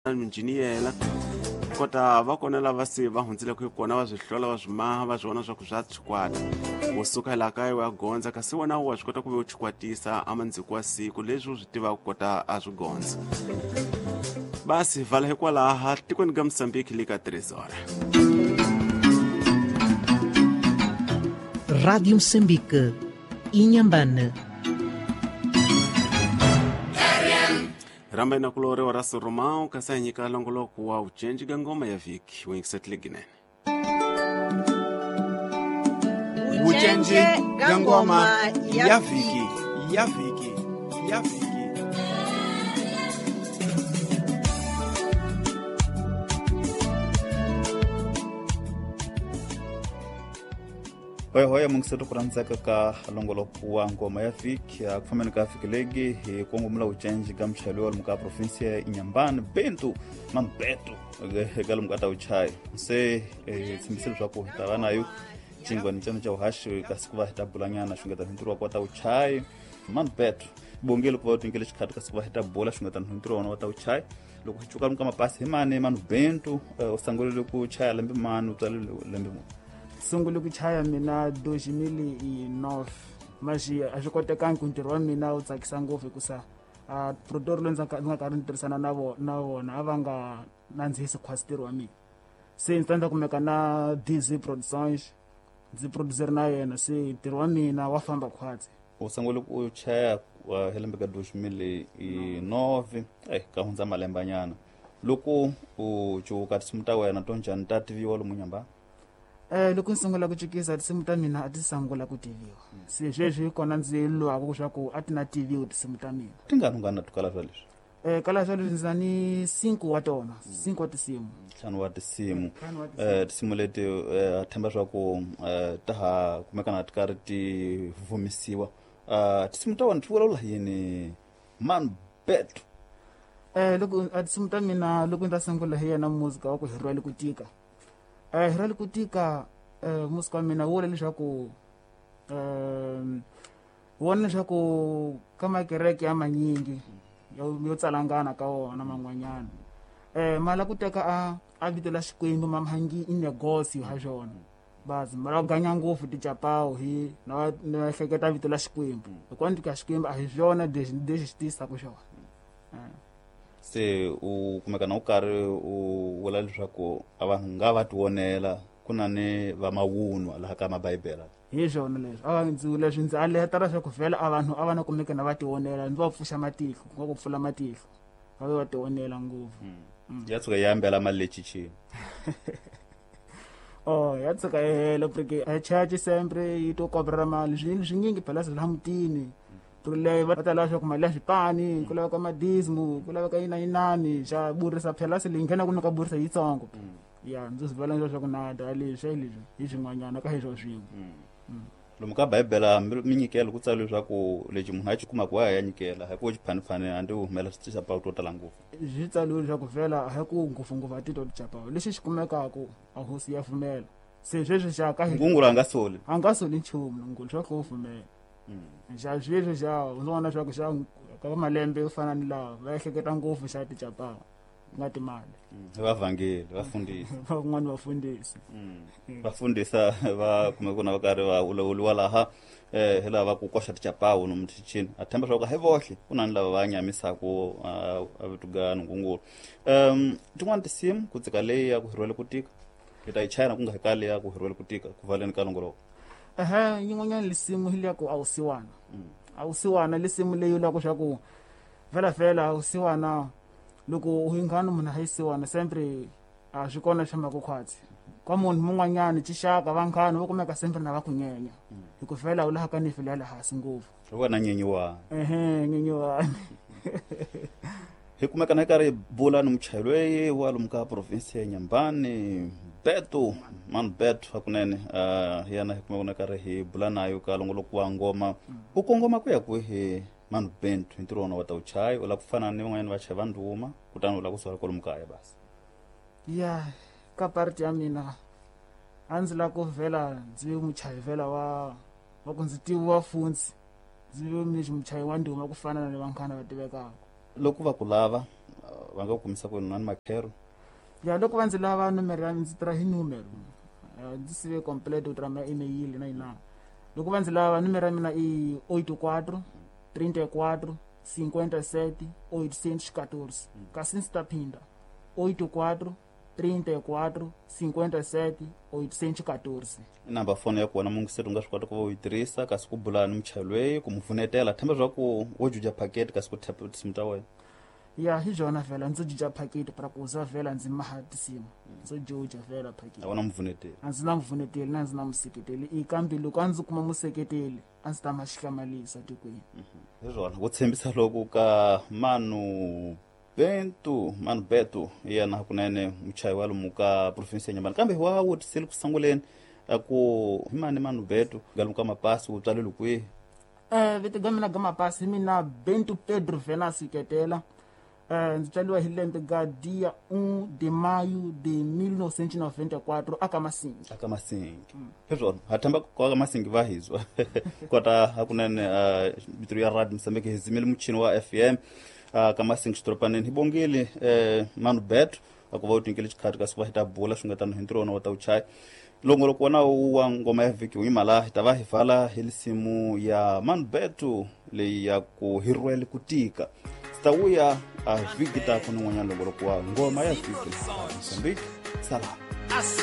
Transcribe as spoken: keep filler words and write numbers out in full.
Minjiniyela kota va kona lava se va hundzileke hi kona va swi hlola va swi maha va swi vona swa ku swa chikwata u suka laha kaya u ya gondza kasi wena wa swi kota ku ve u chikwatisa amandziko wa siku leswi u swi tivaka kota a swi gondza basi vala hikwalaha tikweni ka Mozambique le ka Trezora. Rádio Moçambique, Inhambane. Ramba ina kuloriwa ra Soromão kasi a nyika longoloko wa ucenji ka ngoma ya vhiki wingisetile ginene. Ucenji ka ngoma ya vhiki ya vhiki ya vhiki. Hoya hoya mungiseto ku rhandzeka ka longoloko wa ngoma ya vhiki ku fambeni ka vhiki legi hi kongomela ucenji ka muchayeri wa lomu ka provinsia ya Inhambane Bento Mambeto eka lomu ka ta uchaya se hi tshembise leswaku hi ta va nayo cingwani cana ca uhaxi kasi ku va hi ta bulanyana xungeta ntirho wa ku wa ta uchaya Mambeto bongele ku va u tinyikele xikhati kasi ku va hi ta bula xungeta ntirho wa wona wa ta uchaya loko hi cuka lomu ka mapasi hi mani manu Bento u sungulile ku chaya lembe mani u tswalile lembe muni? Sungule ku chaya mina dois mil e nove mas a swi kotekangi ku ntirho wa mina wu tsakisa ngopfu hikusa a produtor loyi ndzi nga karhi ni tirhisana na vona na vona a va nga nandzihisi khwasi ntirho wa mina se ndzi ta ndza kumeka na D Z Productions ndzi producer na yena se ntirho wa mina wa famba khwatsi. U sungule ku chaya hi lembe ka dois mil e nove eh ka hundza malembanyana loko u cuka tinsimu ta wena to njhani ta tiviwa lomu Inhambane? Eh loko ndzi sungula ku cukisa tinsimu ta mina a ti sungula ku tiviwa se sweswi hi kona ndzi lwaka leswaku a ti na tiviwa tinsimu ta mina. Tingani u nga na tukala swa leswi? Eh kala swa leswi ndzi na ni cinco wa tona cinco wa tinsimu ntlhanu wa tinsimu eh tinsimu leti a themba swa ku ta ha kumekana ti karhi ti vumisiwa tinsimu ta wena ti vulavula yini Mambeto? Eh loko a tinsimu ta mina loko ndzi ta sungula hi yena muzika wa ku hi rhwale ku tika eh rhwale ku tika eh musika wa mina wu vula leswaku eh wona leswaku ka makereke ya manyingi yo tsalangana ka wona man'wanyana eh mala ku teka a a vito la Xikwembu mamhangi i negosio ha xona bazi mala ganya ngopfu tichapawu hi na na hleketa vito la Xikwembu hikuva ndzi ka Xikwembu a hi swona lexi lexi xi tisaka xona. Se u kumeka na u karhi u vula leswaku a vanhu nga va tivonela ku na ni va mavunwa laha ka mabibele hi swona leswi a ndzi leswi ndzi aleta leswaku vhela a vanhu a va na kumeka na va tivonela ndzi va pfuxa matihlo ku nga ku pfula matihlo va ve va tivonela ngopfu. Ya tshuka yi hambela mali lechichini oh ya tshuka yi hela porque a church sempre yi to kobrela mali swi swinyingi phela swi la mutini leyi va ta lava leswaku mali ya swipani ku laveka madismu ku laveka yina yinani xa burisa phela se leyi nghena ku nyika burisa yitsongo ya ndzi swi vula leswaku na da leswi leswi hi swin'wanyana ka hi swo swin'we. Lomu ka bibele minyikelo ku tsariwe leswaku lexi munhu a xi kumaka wa ya nyikela hi ku xiphanifani a ndzi humela tichapawu to tala ngopfu swi tsariwe leswaku vhela a hi ku ngopfungopfu a titwa tichapawu lexi xi kumekaka a hosi ya pfumela se sweswi xa ka ngungulu a nga soli a nga soli nchumu ngulu swa ku u pfumela xa sweswi xa u vona leswaku xa ka malembe yo fana ni lawa va ehleketa ngopfu xa tichapawu nga timali vavhangeli vafundhisi van'wani vafundhisi va fundisa va kume ku na va karhi va ulawuliwa laha eh hi lava ku koxa tichapawu nomu tichini a themba swa ku hi vohle ku na ni lava va nyamisaku a vitugani ngungulu um tin'wani tinsimu ku tsika leyi ya ku hirwele ku tika hi ta yi chaya na ku nga hi kali ya ku hirwele ku tika ku valeni ka longoloko. Ehe yin'wanyana lisimu hi leya ku awusiwana awusiwana lisimu leyi loko swa ku vhela vhela awusiwana loko u hinghana munhu a yisiwana sempre a swi kona swi fambaka khwatsi ka munhu mun'wanyana tixaka vanghana va kumeka sempre na va ku nyenya hi ku vhela u laha ka nifi leya le hansi ngopfu wena nyenyiwani ehe nyenyiwani hi kumeka na hi karhi hi bula ni muchayeri loyi wa lomu ka province ya Inhambane Beto Mambeto hakunene uh, yena hi kumeka na karhi hi bula nayo ka longoloko wa ngoma u kongoma ku ya kwihi Manu Bento hi ntirho wona wa ta uchayi u lava ku fana ni van'wanyana vachayi va ndhuma kutani u lava ku sala kwalomu kaya basi? Ya ka parti ya mina a ndzi lava ku vhela ndzi ve muchayi vhela wa wa ku ndzi tiviwa funtsi ndzi ve muchayi wa ndhuma ku fana na vanghana va tivekaka. Loko va ku lava va nga ku kumisa ku yini na makhero? Ya loko va ndzi lava nomero ya ndzi tirha hi numero. Ndzi sive complete ku tirha ma email na yinana. Loko va ndzi lava nomero ya mina i oito quatro trinta e quatro cinquenta e sete oitocentos e quatorze. Kasi ndzi ta phinda oito quatro trinta e quatro cinquenta e sete oitocentos e quatorze. I number phone ya kona mungiseri u nga swi kota ku va u yi tirhisa kasi ku bula ni muchayeri loyi ku mu pfunetela themba swa ku wo juja packet kasi ku tap tinsimu ta wena. Ya hi byona vhela ndzo juja packet para ku za vhela ndzi maha tinsimu ndzo juja vhela packet. A wu na mupfuneteli? A ndzi na mupfuneteli na ndzi na museketeli i kambe loko a ndzi kuma museketeli a ndzi ta ma xihlamalisa tikweni. Hi swona ku tshembisa loko ka Manu Bento Manu Beto yena hakunene muchayi wa lomu ka province ya Inhambane kambe wa wutisile ku sunguleni a ku hi mani Manu Beto ga ka mapasi wu tswalele kwihi? Eh vito ga mina ga mapasi mina Bento Pedro Venancio Ketela. Eh ndzi tswaliwa hi lembe ga dia um de maio de mil novecentos e noventa e quatro aka Masingi. Aka Masingi. Hi swona ha themba ku aka Masingi va hizwa kota hakunene vito ya Radio Mozambique hi zimile muchini wa F M ka Masingi xidorobaneni hi bongile eh Manu Beto a ku va u tinkele xikhati kasi va hi ta bula swi nga tano hi ntirho wona wa ta wu chaya. Longoloko wona wa ngoma ya vhiki wu yima laha hi ta va hi vala hi lisimu ya Manu Beto leyi ya ku hi rhwele ku tika. Swi ta vuya a vhiki ta ku ni n'wanyana longoloko wa ngoma ya vhiki Mozambique. Salam. Assim.